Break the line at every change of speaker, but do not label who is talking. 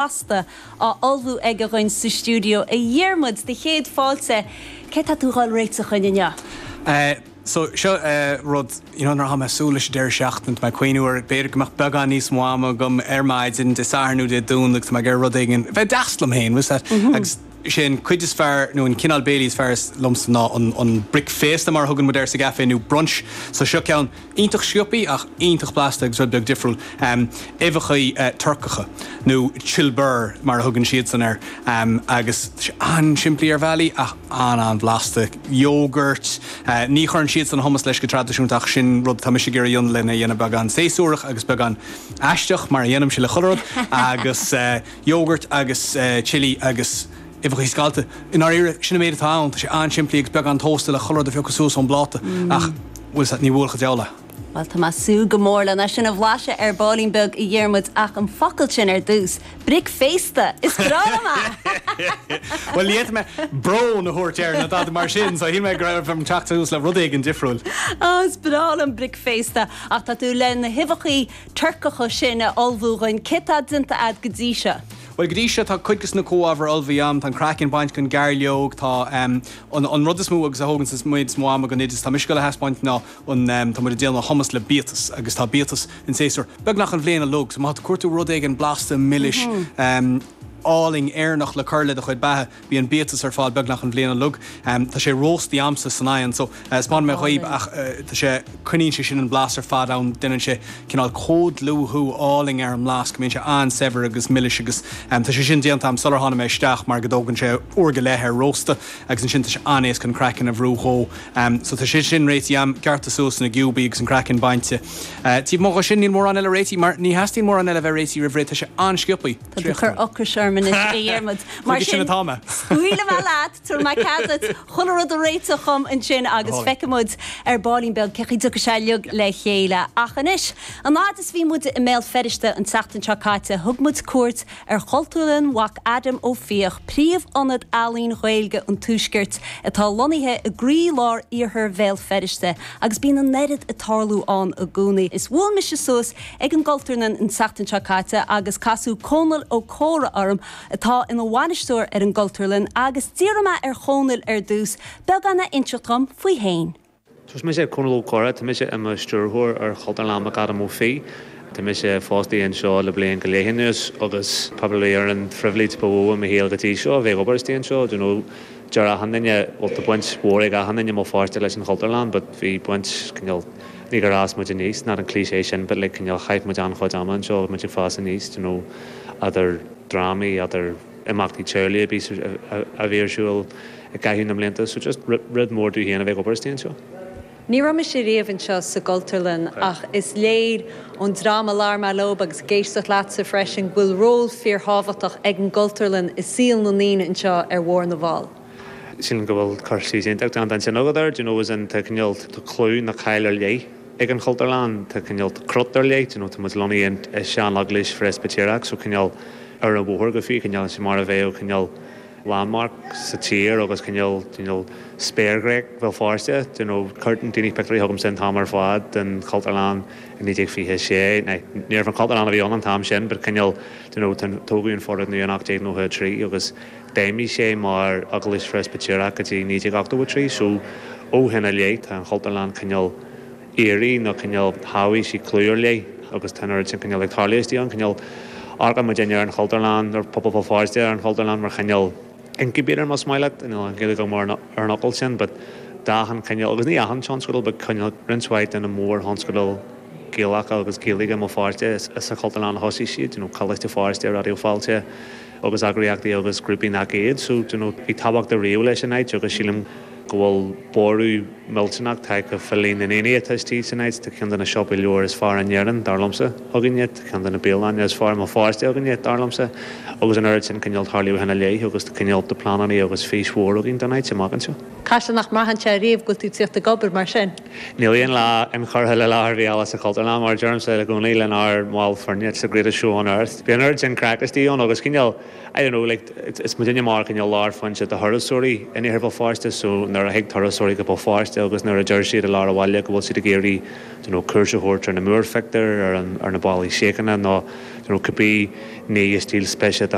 Blasta á ullmhú aige dhuinn sa stiúideo. A Dhiarmuid, do chéad fáilte. Céard tá tú a dhul réiteach dhuinn inniu?
So, seo rud, you know, nuair atá mé ag súil leis an deireadh seachtaine, tá mé ag cuimhniú ar, b'fhéidir go mbeadh beagán níos mó ama agam ar maidin, Dé Sathairn nó Dé Domhnaigh, tá mé ag iarraidh rud éigin, bheith deas liom féin, bhfuil 's a'd? Agus sé an cuid is fearr, nó an cineál béilí is fearr liomsa ná an, an bricféasta mar a thugann muid air sa gcaife nó brunch. So seo ceann. Iontach sciobthaí ach iontach blasta agus rud beag difriúil. Uibheachaí Turcacha, nó cilbir mar a thugann siadsan air, agus tá sé an-simplí ar bhealaí ach an-an-bhlasta. Yogurt, ní chuireann siadsan hummus leis go traidisiúnta ach sin rud atá mise ag iarraidh a dhéanamh lena dhéanamh beagán séasúrach agus beagán aisteach mar a dhéanaimse le chuile rud agus yogurt agus chilli agus uibheachaí scallta. I ndáiríre, sin an méid atá ann. Tá sé an-simplí agus beagán tósta le chuile rud a phiocadh suas ón bpláta ach, bhfuil 's a'd, ní bhuailfeadh an diabhal é.
Bhuel, tá mé ag súil go mór lena sin a bhlaiseadh ar baillín beag, a Dhiarmuid, ach an focal sin ar dtús, bricféasta! Is breá liom
é! Bhuel, ní fhéadfadh mé brón a thabhairt air nó dada mar sin, so shíl mé go raibh orm teacht suas le rud éigin difriúil.
Á, is breá liom bricféasta! Ach tá tú le na huibheachaí Turcacha sin a ullmhú dhuinn. Céard tá déanta a'd go dtí seo?
Bhuel, go dtí seo tá cuid de na comhábhair ullmhaithe a'm, tá an craiceann bainte den ghairleog, tá an an rud is mó agus a thógann an méid is mó ama den oideas atá mise ag dul a thaispeáint ná an tá muid ag déanamh hummus le biatas agus tá biatas in séasúr beagnach an bhliain uilig so má tá tú ag cuartú rud éigin blasta milis álainn Éireannach le cur le do chuid beatha Bíonn biatas ar fáil beagnach an bhliain uilig. Tá sé róstaí a'msa san oigheann so 'spáinfidh mé dhaoib ach tá sé, coinníonn sé sin an blas ar fad ann, déanann sé cineál comhdhlúthú álainn ar an mblas go mbíonn sé an-saibhir agus milis agus tá sé sin déanta a'm sular tháinig mé isteach mar go dtógann sé uair go leith ar róstadh agus ansin tá sé an-éasca an craiceann a bhrú dhó. So tá sé sin réitithe a'm, gearrtha suas ina gciúbaí agus an craiceann bainte. Taobh amuigh dhe sin níl mórán eile réitithe mar ní theastaíonn mórán eile a bheith réitithe roimh ré, tá sé an-sciobthaí.
Tá tú ag cur ocrais orm anois, a Dhiarmuid. Mar
sin,
scaoilfidh mé leat, tabharfaidh mé cead duit chuile rud a réiteach dhom ansin agus feicfidh muid ar baillín beag cén chaoi a dtiocfaidh sé uilig le chéile. Ach anois, an fhaid is a bhí muid i mBéal Feirste an tseachtain seo caite, thug muid cuairt ar Chultúrlann McAdam Ó Fiaich, príomh-ionad ealaíon Ghaeilge an Tuaiscirt, atá lonnaithe i gcroí-lár iarthar Bhéal Feirste, agus bíonn an oiread ag tarlú ann i gcónaí. Is bhuail mise suas ag an gCultúrlann an tseachtain seo caite agus casadh Cónall Ó Comhra orm atá ina bhainisteoir ar an gCultúrlann agus d'iarr mé ar Chónall ar dtús beagán a inseacht dhom faoi fhéin.
Is mise Cónall Ó Comhra, tá mise i mo stiúrthóir ar Chultúrlann McAdam Ó Fiaich. Tá mise fostaithe anseo le bliain go leith anuas agus probably ar an phribhléid ba mhó i mo shaol go dtí seo a bheith ag obair istigh anseo. Do you know, deir achan duine, bhuel tá baint mhór ag achan duine i mBéal Feirste leis an Chultúrlann but bhí baint cineál Ní gur fhás muid aníos, not an cliché sin, but like cineál chaith muid an-chuid ama anseo agus muid ag fás aníos, do you know, idir drámaí, idir imeachtaí teaghlaigh a bhí, a bhí ar siúl i gcaitheamh na mblianta, so just rud mór domh féin a bheith ag obair istigh anseo.
Ní raibh mise riamh anseo sa gCultúrlann ach is léir ón dream a labhair mé leob agus ag éisteacht leatsa freisin go bhfuil ról fíorthábhachtach ag an gCultúrlann i saol na ndaoine anseo ar Bharr na bhFál.
Sílim go bhfuil cur síos iontach déanta ansin agat air, do you know, as in tá cineál, tá clú nó cáil ar leith ag an Chultúrlann, tá cineál, tá crot ar leith, do you know, tá muid lonnaithe i sean-eaglais Phreispitéireach so cineál ar an bhóthar go fiú, cineál sé mar a bheadh cineál landmark sa tír agus cineál, do you know, spéirghréig Bhéal Feirste, do you know, cuireann daoine pictiúirí chugamsa an t-am ar fad den Chultúrlann i 1926, now níorbh an Chultúrlann a bhí ann an t-am sin but cineál, do you know, tógadh an foirgneamh in 1893 agus D'fheidhmigh sé mar Eaglais Phreispitéireach go dtí 1983 so ó shin i leith tá an Chultúrlann cineál éirithe nó cineál thabhaigh sí clú ar leith agus tá an oiread sin cineál ag tarlú istigh ann. Cineál amharcann muidinne ar an Chultúrlann, ar pobal Bhéal Feirste ar an Chultúrlann mar chineál incubator más maith leat, níl an Ghaeilge agam ar an fhocal sin but d'achan chineál agus ní achan tionscadal but cineál roinnt mhaith de na mórthionscadail Gaelacha agus Gaeilge i mBéal Feirste is sa Chultúrlann a thosaigh siad, you know Coláiste Feirste, Raidió Fáilte. agus eagraíochtaí agus grúpaí nach iad so do you know bhí tábhacht ariamh leis an áit agus sílim go bhfuil borradh millteanach tagtha fá líon na ndaoine atá istigh san áit. Tá ceann de na siopaí leabhar is fearr in Éirinn, dar liomsa, againne, tá ceann de na bialanna is fearr i mBéal Feirste againne, dar liomsa, agus an oiread sin cineál tarlú ó shin i leith agus tá cineál de pleananna agus fís mhór againn don áit amach anseo.
Caithfidh sé nach mbraitheann sé riamh go bhfuil tú ag tíocht ag obair mar sin?
Níl aon lá inchurtha le lá ar bith eile sa Chultúrlann, mar a deirimse i gcónaí lenár mbaill foirne, it's the greatest show on earth. Bíonn an oiread sin craic istigh ann agus cineál, I don't know, like, is muidinne mar cineál lárphointe do thurasóirí in Iarthar Bhéal Feirste so nuair a thig turasóirí go Béal Feirste agus nuair a deir siad i lár an bhaile go bhfuil siad ag iarraidh, you know, cuairt a thabhairt ar na múrphictiúir, ar an, ar na ballaí síochána nó, you know, cibé. Ní is díol spéise do.